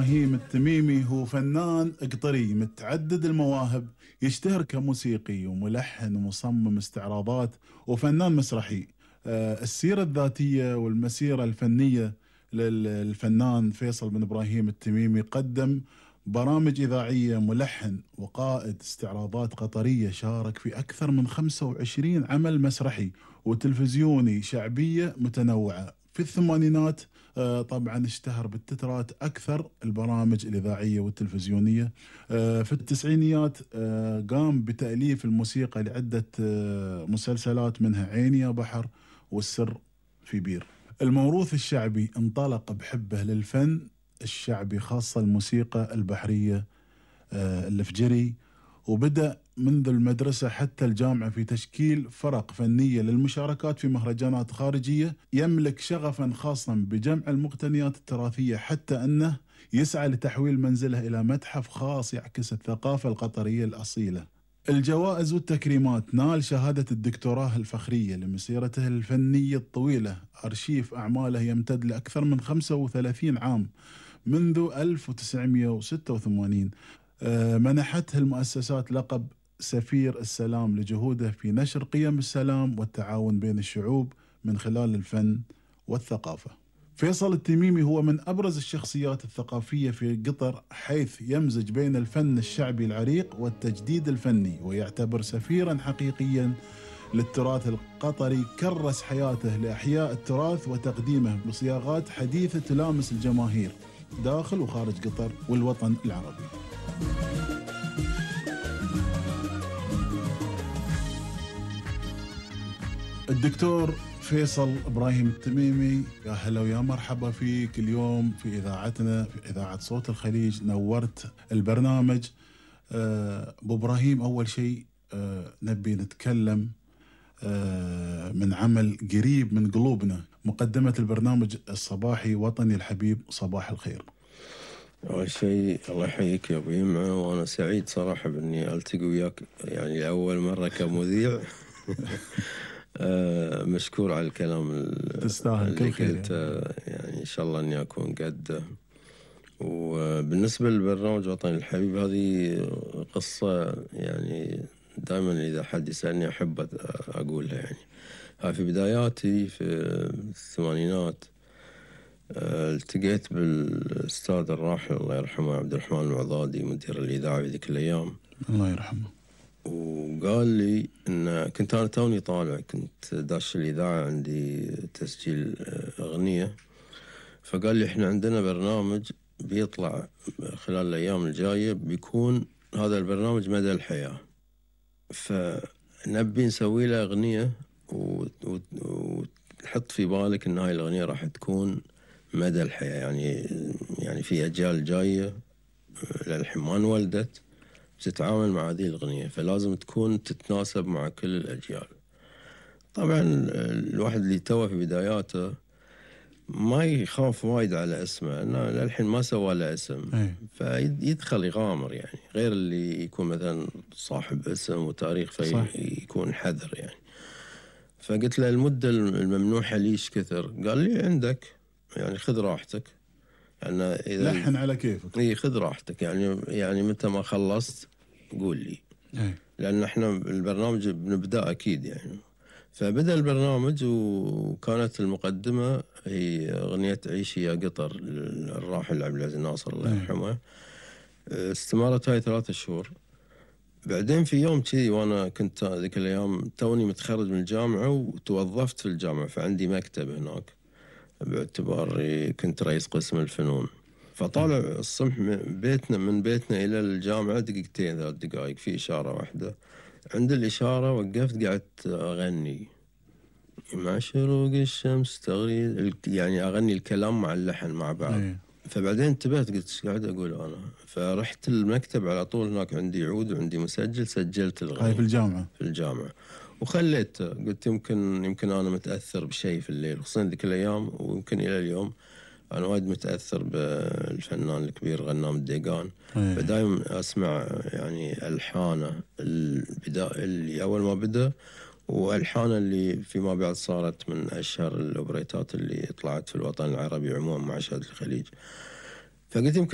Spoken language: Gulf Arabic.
إبراهيم التميمي هو فنان قطري متعدد المواهب، يشتهر كموسيقي وملحن ومصمم استعراضات وفنان مسرحي. السيرة الذاتية والمسيرة الفنية للفنان فيصل بن إبراهيم التميمي: قدم برامج إذاعية، ملحن وقائد استعراضات قطرية، شارك في أكثر من 25 عمل مسرحي وتلفزيوني، شعبية متنوعة. في الثمانينات طبعا اشتهر بالتترات أكثر البرامج الإذاعية والتلفزيونية. في التسعينيات قام بتأليف الموسيقى لعدة مسلسلات، منها عيني يا بحر والسر في بير. الموروث الشعبي انطلق بحبه للفن الشعبي، خاصة الموسيقى البحرية الفجري، وبدأ منذ المدرسة حتى الجامعة في تشكيل فرق فنية للمشاركات في مهرجانات خارجية. يملك شغفا خاصا بجمع المقتنيات التراثية، حتى أنه يسعى لتحويل منزله إلى متحف خاص يعكس الثقافة القطرية الأصيلة. الجوائز والتكريمات: نال شهادة الدكتوراه الفخرية لمسيرته الفنية الطويلة، أرشيف أعماله يمتد لأكثر من 35 عام منذ 1986. منحته المؤسسات لقب سفير السلام لجهوده في نشر قيم السلام والتعاون بين الشعوب من خلال الفن والثقافة. فيصل التميمي هو من أبرز الشخصيات الثقافية في قطر، حيث يمزج بين الفن الشعبي العريق والتجديد الفني، ويعتبر سفيرا حقيقيا للتراث القطري. كرس حياته لإحياء التراث وتقديمه بصياغات حديثة تلامس الجماهير داخل وخارج قطر والوطن العربي. الدكتور فيصل إبراهيم التميمي، يا هلا ويا مرحبا فيك اليوم في إذاعتنا، في إذاعة صوت الخليج. نورت البرنامج. أبو إبراهيم، أول شيء نبي نتكلم من عمل قريب من قلوبنا، مقدمة البرنامج الصباحي وطني الحبيب، صباح الخير. أول شيء الله يحييك يا أبو يمعة، وأنا سعيد صراحة بإني ألتقي وياك يعني لأول مرة كمذيع. مشكور على الكلام تستاهل كل خير يعني إن شاء الله إني أكون قده. وبالنسبة للبرنامج وطني الحبيب، هذه قصة يعني دائما إذا حد يسألني أحب أقولها. يعني في بداياتي في الثمانينات التقيت بالأستاذ الراحل الله يرحمه عبد الرحمن العضادي، مدير الإذاعة في ذيك الأيام، الله يرحمه. وقال لي إن كنت أنا توني طالع، كنت داش الإذاعة، عندي تسجيل أغنية، فقال لي إحنا عندنا برنامج بيطلع خلال الأيام الجاية، بيكون هذا البرنامج مدى الحياة، فنبي نسوي له أغنية وتحط في بالك إن هاي الأغنية راح تكون مدى الحياة، يعني في أجيال جاية للحين ما انولدت تتعامل مع هذه الأغنية، فلازم تكون تتناسب مع كل الأجيال. طبعا الواحد اللي توه في بداياته ما يخاف وايد على اسمه، أنا للحين ما سوى له اسم، فيدخل يغامر، يعني غير اللي يكون مثلا صاحب اسم وتاريخ فيكون حذر يعني. فقلت له المدة الممنوحة ليش كثر؟ قال لي عندك، يعني خذ راحتك، يعني إذا لحن على كيفك، خذ راحتك، يعني متى ما خلصت قول لي. لأن احنا البرنامج بنبدأ أكيد يعني. فبدأ البرنامج، وكانت المقدمة هي أغنية عيشي يا قطر للراحل عبد العزيز ناصر الله يرحمه. استمرت هاي 3 شهور. بعدين في يوم كذي، وأنا كنت ذيك الأيام توني متخرج من الجامعة وتوظفت في الجامعة، فعندي مكتب هناك باعتباري كنت رئيس قسم الفنون. فطالع الصبح من بيتنا إلى الجامعة 2 3 دقائق، في إشارة واحدة. عند الإشارة وقفت قعدت أغني مع شروق الشمس تغريد، يعني أغني الكلام مع اللحن مع بعض. فبعدين انتبهت قلت ايش قاعد أقول أنا، فرحت المكتب على طول، هناك عندي عود وعندي مسجل، سجلت الغني. هاي في الجامعة وخليت، قلت يمكن أنا متأثر بشيء في الليل، خصوصا ذيك الأيام ويمكن إلى اليوم أنا وايد متأثر بالفنان الكبير غنام الديقان. فدايم أسمع يعني ألحانه البداية اللي أول ما بدأ، وألحانه اللي فيما بعد صارت من أشهر الأوبريتات اللي طلعت في الوطن العربي عموما مع شهادة الخليج. فقلت يمكن